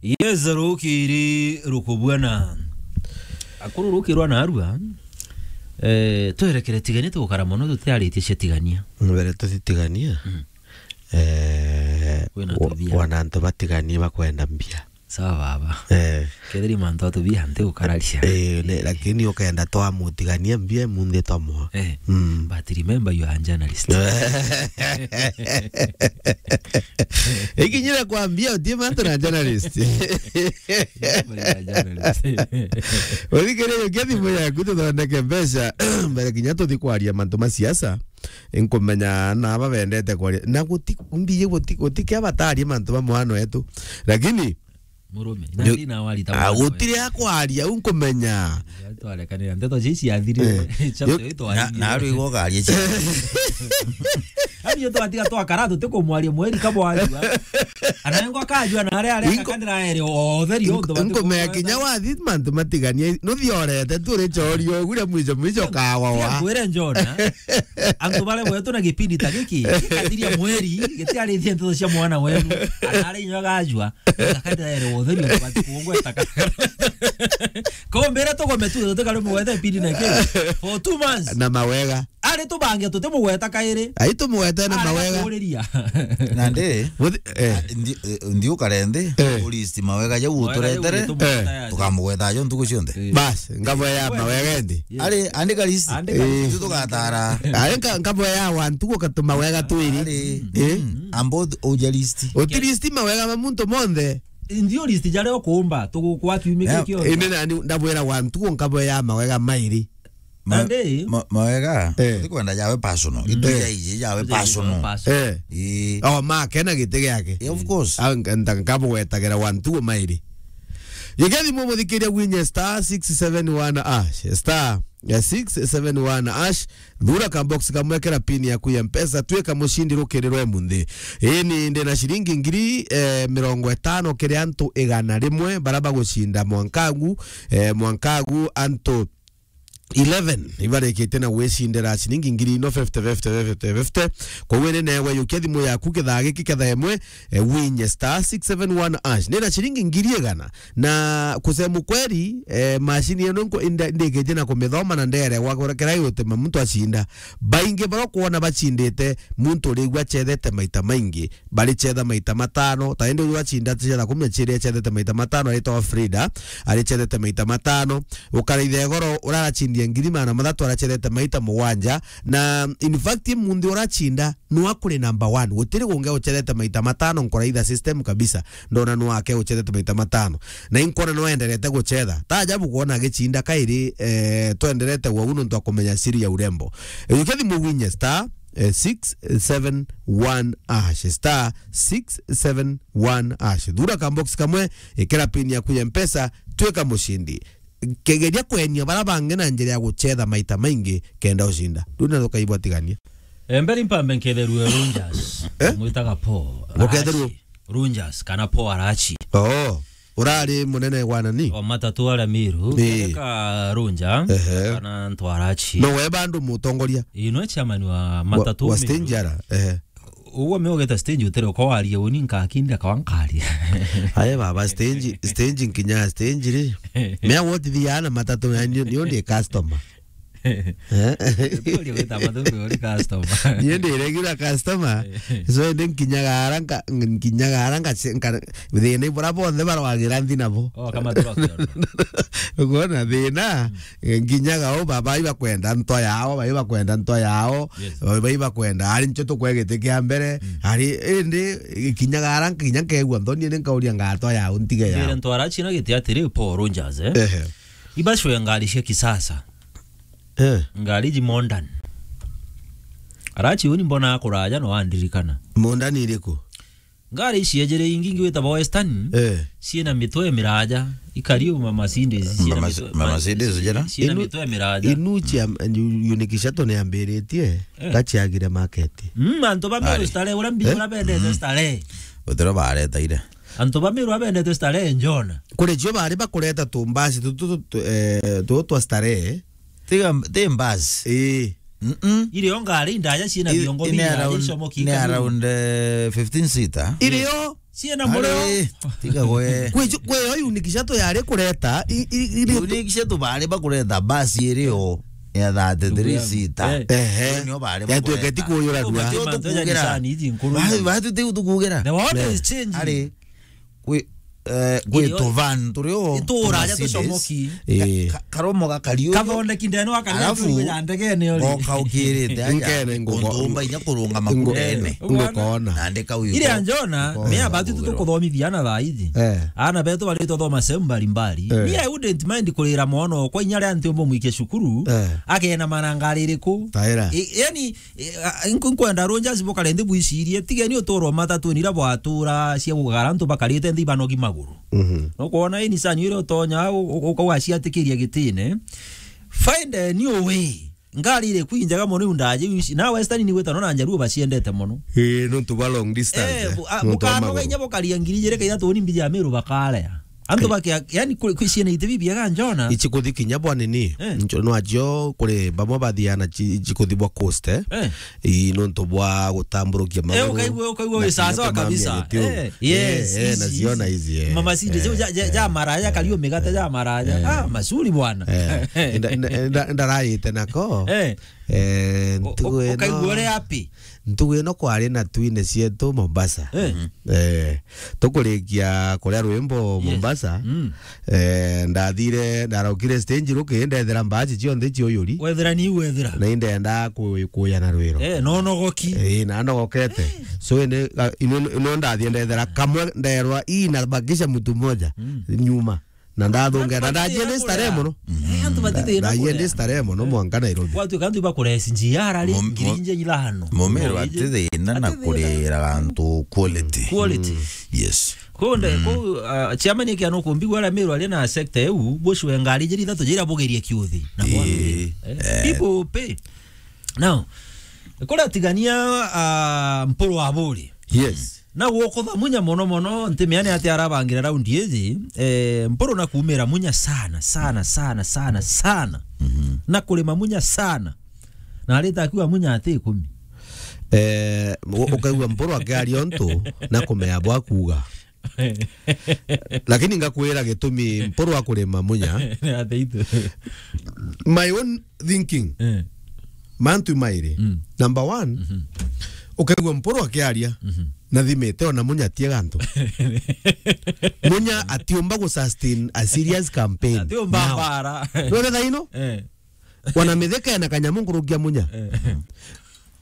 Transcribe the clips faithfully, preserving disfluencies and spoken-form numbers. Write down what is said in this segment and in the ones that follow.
Yes, rukiri rukubwana. Akuru rukirwa na arua. Eh, twerekere tigania tugukara mono tutiaritie cia tigania. Mbere tutitigania. Mm. Eh, kwina wa-, tubia. Wana antu batiganie bakwenda mbia. Sawa baba. Eh. Kethiri mantu atubia nti gukararia. Eh, ne, lakini ukenda twamutigania mbia munthi twamwa. Eh. Mm. But remember you are a journalist. Ikinyira kwambia utie mantu na journalist. Remember you are a journalist. Uthikiririe ukia thimu yaku tuthondeke mbeca mbere kinya tuthi kwaria mantu ma siasa. Nkumenya na aba bendete kwaria. Na guti, mbiji guti, guti kia batarie mantu ba mwana wetu. Lakini murume, na ndi na wari ta ah, mwana gutiri wetu. Akwaria, u nkumenya. Ndeto cia ciathirire. Eh. Chapter yo, ito na, na arigwo garia cia. Ani yo twatiga twakara tutikumwaria mweri kabwajua. Anango akajua na aria aria Inko-, akandira ere othe rio inko-, nkumenya kinya wathi mantu matiganie. Nuthiorete tu ri chorio gure mwicho mwicho kawa wa. Ngwire Jona. Antu bare gwetu na gipindi ta giki, gikathiria mweri, gitiarithia ndeto cia mwana wenu. Anari nyo gajua. Akatira ere wothe ni bati kuongweta ka. Kombere tugome tu, tutikari mugwete pindi na ki. For two months. Na mawega. Ari tubange tutimugweta kairi. Ai tumugwete na mawega. Kuriria. Na ndi, Muthi-, eh. Ah, ndi, eh, ndi ukare ndi, Eh. Ulist mawega jau uturetere. Mawega jau uturetere. Eh. Tukamugweta jo ntuku cionthe. Eh. Bas, ngabo ya mawega ndi. Yes. Ari, andika list. Andika Eh. list. Itu tugatara. Ari nka-, ngabo ya wantu gukatuma wega twiri. Ari, Eh. mm, ambod uja list. Uti list mawega ma muntu monthe. Ndio list jaria ukuumba, tugukwa kiumia Yeah, kio. Indi nani ndabwira wantu nkabo ya mawega mairi. Ma-, Nandi? Ma-, mawega, Eh. Uti kwenda jawe personal. Mm. Itu Eh. jaiji jawe Jaiji personal. personal. Eh. Ii. Oh, make na giti giake. Yeah, of course. Ah, nka-, nta-, nkabugwetagira wantu mairi. Gigethi mumuthikiria gwinye star six seven one hash. Star, eh, six seven one hash. Thura ka box kamwe kera pin yaku ya Mpesa, twika mushindi rukiri rwa munthi. Ini ndi na shilingi ngiri, eh, mirongo itano kiri antu igana rimwe bara bagucinda mwankagu, eh, mwankagu antu eleven ibarikite na gwicindira ciringi ngiri ino fifty, fifty, fifty, fifty. Koguo ni newe yukia thimu yaku kithaa giki kethaa imwe, eh, winye star six seven one hash. Ni na ciringi ngiri igana. Na kusema ukweli, eh, macini ino nko-, inda-, ndikite na kumithoma na nderegwa kura kira yutema muntu acinda. Baingi bara kwona bacindite, muntu urigua acethete maita maingi. Baricetha maita matano, ta indi uyu acinda acetha kumi na ciiri acethete maita matano, aritwa Frida, aricethete maita matano. Ukaraitha igoro uraracindia ngiri magana mathatu aracethete maita mugwanja. Na in fact, munthi uracinda nwa kuri number one. Gutiri gungi ucethete maita matano nkuraitha system kabisa. Ndona nwa ake ucethete maita matano. Na inkona no enderete gucetha. Ta ajabu kwona agicinda kairi, eh, twenderete wau nontu akumenya siri ya urembo. Eh, ukethi mugwinye star, eh, six seven one hash, star six seven one hash. Thura ka box kamwe, ikira pin yaku ya Mpesa, twika mucindi. Kegeria kwenia bara bangi na njira ya gucetha maita maingi kenda ucinda. Riu na tukaigua tigania. Emberi mpambe nketherue Rangers. Eh? Mwitaga Paul. Uketherue? Arachi. Rangers, kana Paul Arachi. Oh. Urari munene wa nani? Wa matatu aria Miru, Ii. Ka Runja, Ehe. Kana Ntwarachi. No we bandu mutongoria? Ii, nwe chairman wa matatu wa Miru. Stage ara, ehe. Uguo me ugeta stage utere uko waria uni nkakinda kwa nkaria. Aye baba, stage, stage nkinya stage ri. Me what the ana matatu ya ni, ni ndi customer. Eh? Ndio wita mathubi uri customer. Niĩ ndĩ regular customer. Eh. So, ndi nkinyaga ara nka-, nkinyaga ara nka-, nka-, thĩna ibura bonthe barwagĩra nthi nabo. Oh, kama tu wakiona. Ukwona thĩna, nkinyaga o baba ibakwenda nto yao, baba ibakwenda nto yao, Yes. Baba ibakwenda, ari ncho tukwe gĩtĩ kĩa mbere, Mm. Ari, ĩndĩ, nkinyaga ara nkinya nkegua nthoni, nĩ nkauria ngatwa yao, ntige yao. Njĩre Ntwarachi na gĩtĩ atĩrĩ, Paul Rogers, eh? Ehe. Ibacwe ngari cia kisasa. Eh. Ngari iji modern. Arachi uni mbona akuraja no andirikana. Modern iriku? Ngari ici ejere ingi ingi witagwa Western, Eh. Ciina mitwe miraja, ikari uma Mercedes, ciina Mama-, mitwe, ma-, Mercedes jera? Ciina Inu-, mitwe miraja. Inu cia, unikisha to niambiritie, Eh. Gaciagire market. Mm, antu ba Meru Ari. Starehe, ura mbi, Eh? Ura bendete Mm. Starehe. Utero bareta ire. Antu ba Meru abendete Starehe, Njona. Kuri cio bari bakureta tumbasi tu, tu, tu, tu, eh, tu twa Starehe. Tiga, ti mbasi. Ii. Mm-mm. Iri o ngari ndaja ciina I-, biongo i ni bingi around, icomoki ni ikabiri. Around, eh, fifteen seater. Iri o? Ciena mureo. Ari, tiga gwe. Kwi ju-, kwi yo unique shuttle yari kureta, i, i, i, unique shuttle bari bakureta basi irio ya thirty-three seater. Eh. Ehe. Nio bari bakureta. Yatuika ti kuyurarua. Tio tukugira. Basi, basi tiu tukugira. The world is changing. Ari, kwi, eh, kwi tuvan turio. Ituraja tucomoki. Eh. Ka-, ka-, karomo gakariu. Kathondeki ndeno akariu. Alafu, ya ndegene ori. Goka ukirite aja. Nkene nguko-, kuntumba inya kurunga ngo-, makutene. Ngukona. Nandika uyu. Ile anjona, me abatu tukuthomithia na thaa ici. Eh. Ana betu bari tuthoma sehemu mbalimbali. Eh. Me, I wouldn't mind kurira mwana kwa inya ria nti umbo mwike cukuru. Eh. Akena maranga ririku. Taira. I-, yani, e, a, nku-, nkwenda Rangers bukare nthi bwicirie, tigeni uturo matatu nira bwatura cia gugara antu bakarite nthi banogi maguru. Mhm. No kwona ini sani ire utonya u-, u-, ukauga ciatikiria gitine. Find a new way. Ngari iri kwinjaga mono iu ndaje ici. Na Western ni gwita no na Njaruo baciendete mono. Eh, nontu bwa long distance, eh, eh, bu-, a, nontu bwa bukano maguru. Inya bukaria ngiri ijiri kaithatu ni mbija Meru bakarea. Antu bakia, yani, kwi, kwi ciana iti bibiega njona. Ici kuthi kinya bwa nini? Eh. Njo-, no ajio kuri bamwe bathiana ci-, ici kuthi bwa coast, eh? Eh. Ii, nontu bwa gutamburukia maguru. Eh, ukaigua, ukaigua na wi kinya sawa sawa kumambia kabisa. Gitio. Eh, yes, eh, eh, ici, naciona ici, eh. Mama Cindy, eh, ja, ja, eh, ja maraya, eh, kariu migate, eh, ja maraya. Eh. Ah, masuri bwana. Eh. Nda-, nda-, nda-, ndarayite nako. Eh. Eh, u-, ntugu u-, ino, ukaigua uri happy. Ntugu ino kwari na twine cietu Mombasa. Eh. Eh, tukurikia kuria rwimbo, yes, Mombasa. Mm. Eh, ndathire, ndaraukire stage ruki, ndethira mbaji cionthe ciuyuri. Wethira ni wethira. Na indenda ku-, kuya na rwiro. Eh, no nogoki. Eh, na nogokete. Eh. So, ene, a, ino, ino ndathie ndethira kamwe nderwa, "Ii, nabakisha mtu mmoja." Mm. Nyuma. Na ndathunga, na ndajie ndi starehe mono. Eh, antu batithina. Ndajie ndi starehe mono mwanka Nairobi. Kwatuika antu ibakuresi njia arari, mum-, ngiri mu-, nje ithano. Mumero ati thina na kurira antu quality. Quality. Mm. Yes. Kunde, mm, ku, ah, chairman yake anokumbigwa ara Meru ari na sector eu, bushwe ngari jiri ithatu jira bugerie kiuthi. Na, ii, mwana, eh, eh, people pay. Now, kuratigania, ah, Mpuru wa Buri. Yes. Na gukutha Munya mono mono, nti meane ati arabangira raundi iji, eh, Mpuru na kuumira Munya sana, sana, sana, sana, sana. Mhm. Na kurima Munya sana. Na arita akiuga Munya ati ikumi. Eh, u-, ukaigua Mpuru akiaria untu na kumea bwa kuuga. Lakini ngakwira gitumi Mpuru akurima Munya. Ni ati itu. My own thinking. Eh. Mantu mairi. Mm. Number one, mhm, ukaigua Mpuru akiaria, mhm, na thimite ona Munya atiega antu. Munya atiumba gu sustain a serious campaign. Atiumba mbara. None thaino? Eh. Wana Mithika ena kanyamu nkurukia Munya. Eh.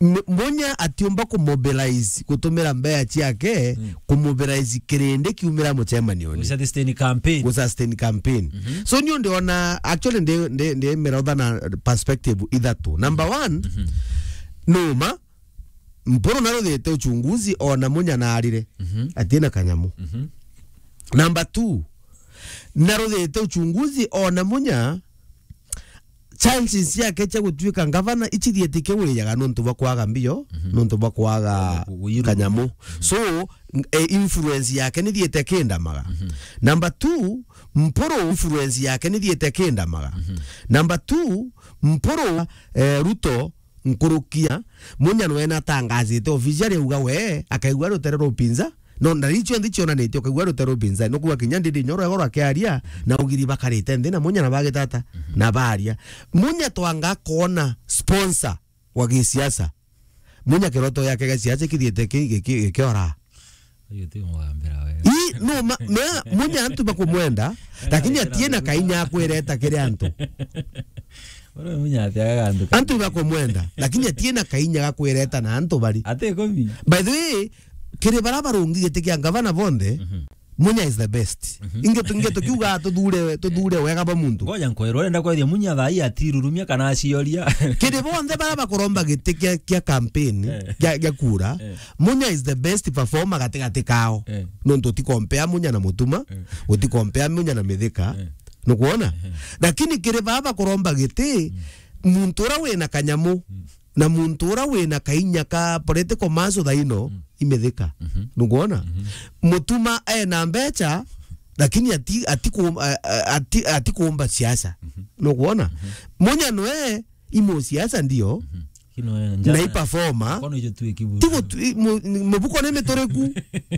M-, Munya atiumba ku mobilize, gutumira mbea ciake, mm, ku mobilize kirindi kiumira mucemanioni. Gu sustain campaign. Gu sustain campaign. Mhm. So, niu ndiona, actually, ndi, ndi, ndi mirotha na perspective ithatu. Number one, mhm, numa, Mpuru naruthite uchunguzi ona Munya naarire. Mhm. Atina kanyamu. Mhm. Number two, naruthite uchunguzi ona Munya chances ciake cia gutuika ngavana icithiete kiurijaga nontu bwa kwaga mbio, mhm, nontu bwa kwaga, gu-, gu-, kanyamu. Mhm. So, n-, e, influence yake nithiete kindamaga. Mhm. Number two, Mpuru influence yake nithiete kindamaga. Mhm. Number two, Mpuru, eh, Ruto nkurukia, Munya nwe natangazite officially auga we akaigua rutere rwa upinza. No, ndari cionthe cionanitie, ukaigua rutere rwa upinza. Nukuga kinya Ndindi Nyoro egoro akiaria, na ugiri bakarite nthi na Munya na bagitata, mhm, na baria. Munya twanga kona sponsor wa gisiasa. Munya kiroto yake gia siasa kithiete ki-, ki-, ki-, gikiora. Uyu ti mugambira we. I, no, ma, mea, Munya antu bakumwenda, lakini atie na kainya akwireta kiri antu. Ora Munya ati agaga antu. Antu bakumwenda, lakini atie na kainya gakwireta na antu bari. Ati ikumi. By the way, kiri bara barungi giti kia ngavana bonthe, mhm, Munya is the best. Mhm. Inge tu-, inge tukiuga tuthure, tuthure wega bwa muntu. Ngoja nkwirwe, urenda kwethia Munya thaa ii atirurumia kana acioria. Kiri bonthe bara bakuromba giti kia, kia campaign, eh, kia, kia kura, eh, Munya is the best performer gatigati kao. Eh. Nontu utikompea Munya na Mutuma, eh, utikompea Munya na Mithika. Eh. Nukwona? Eh. Lakini kiri baba bakuromba giti, mm, muntu ura wina kanyamu, mm, na muntu ura wina kainya ka political muscle thaino, mm, i Mithika. Mhm. Nukwona? Mhm. Mutuma ena mbecha, lakini ati, ati ku-, a-, a-, ati, ati kuumba siasa. Mhm. Nukwona? Mhm. Munya nwe i musiasa ndio. Mhm. No, eh, na njara i performer. Kono ijo tu ikiburu. Tigo tu-, i-, mu-, ni-, mubuko ni mituriku.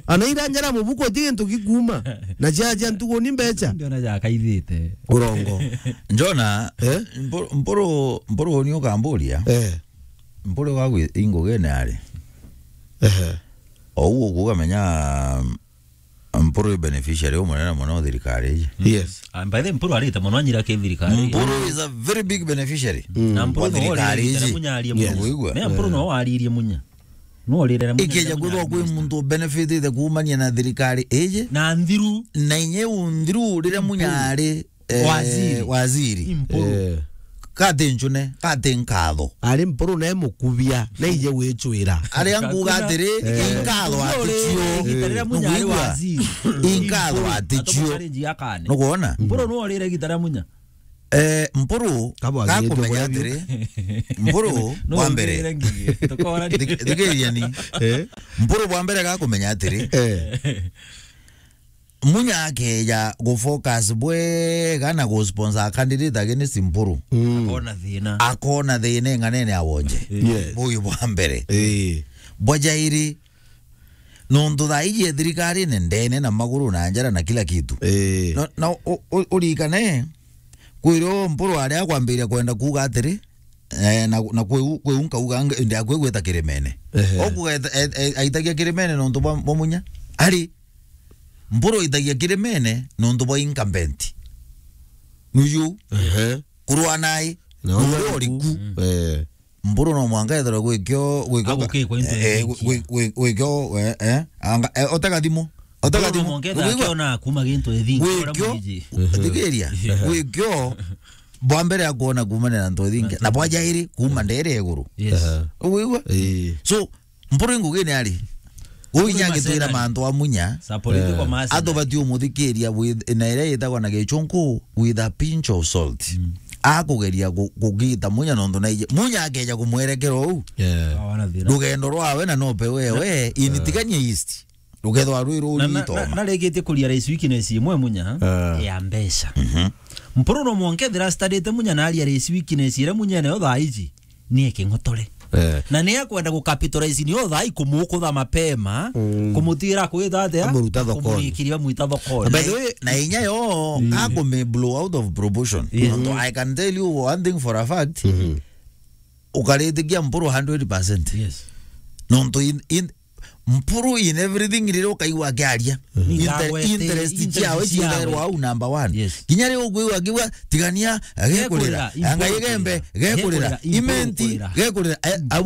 Ana ira njara mubuko ti gintu gikuma. Na cia, cia ntugu ni mbecha. Ndiona ja kaithite. Urongo. Njona, eh? Mpu-, Mpuru, Mpuru ni ukamburia. Eh. Mpuru wa gwi-, ingugene ari. Ehe. Ou ukuga menya, Mpuru i beneficiary umunene muno thirikari iji. Yes. Ah, by the way, Mpuru arite muno anyira ki thirikari. Mpuru is a very big beneficiary. Mm. Na Mpuru wa no thirikari iji. Munyarie muno. Yes. Wigua? Me Mpuru no waririe munya. No rire munya. Ikeja kwithwa kwi muntu benefitite kuumania na thirikari iji. Na nthiru. Na inye u nthiru rire munyari eh, waziri. Waziri. Impuru. Eh. Kati ncune, kati nkatho. Ari Mpuru ne mukubia, na ije gwicwira. Aria nguga atiri, eh, inkatho aticio. Inkatho aticio. Nukwona? Mpuru no rire gita ria munya. Eh, Mpuru, gakumenya atiri. Mpuru, no, wa mbere. Thik-, thikiria ni. Eh? Mpuru bwa mbere gakumenya atiri. Eh. Munya akeja gufocus bwega na gusponsor candidate against Mpuru. Mm. Akona thina. Akona thina ing'anene ya wonje. Yes. Buyu bwa mbere. Eh. Bwa jairi, nontu thaa iji e thirikarine ndene na maguru na njara na kila kitu. Eh. Na, na u-, u-, urikane, kwiro Mpuru aria akwambiria kwenda kuuga atiri, eh, na, na kweu, kweu nkauga nge-, ndi akwe gwita kirimene. Ehe. Okuga et-, et-, et-, aitagia kirimene nontu bwa, bwa munya. Ari, Mpuru aitagia kirimene nontu bwa incumbent. Nuju. Ehe. Kurwa nai. Na uria uriku. Eh. Mpuru no mwanka ethirwe gwikio, gwikio, agukikwa into eh, eh, nyingi. Gwi-, gwi-, gwikio, eh, eh, anga, eh, otega thimu. Otega thimu. Mpuru no mwanka ethirwa akiona kuma gintu ethingi, ura mwiji. Gwikio, thikiria. Gwikio, bwa mbere akuona kuumania na ntu ethingi. Na bwa jairi, kuma ndere iguru. Yes. Aha. Ugwigua? Ii. So, Mpuru ingugine ari. Mpuru inya agitwira macena. Mantu a munya. Sa political mercenary. Atubati umuthikiria with, na iria yitagwa na gichunku with a pinch of salt. Mm. Akugeria ku-, kugita munya nontu na ije. Munya akeja kumwerekera uu. Yeah. Awana thina. Rugendo rwawe na nope wewe, initiganie east. Rugethwa rwi ruu na, na, rwito na, ma. Narikitie kuria rais weakness imwe munya, ah, ya mbeca. Mhm. Mpuru no mwanka ethira studyte munya na aria rais weakness iria munya nayo thaa iji. Ni eking'otore. Eh. Na ni akwenda gu capitalize ni otha ikumuukutha mapema, mm, kumutira kwitha atia? Amuruta thokoni. Kumurikiria mwita thokoni. By the way, na inya yo, mm, akume blow out of proportion. Yes. Nontu I can tell you one thing for a fact. Mhm. Ukaritikia Mpuru hundred percent. Yes. Nontu in, in, Mpuru in everything riria ukaigua akiaria. Mhm. Inter-, interest ciao, interest ciao, ciao, au number one. Yes. Kinya riria ukwigua akiuga, "Tigania, gekurira. Gekurira, anga igembe, gekurira, gekurira, imenti, gekurira, gekurira." Eh,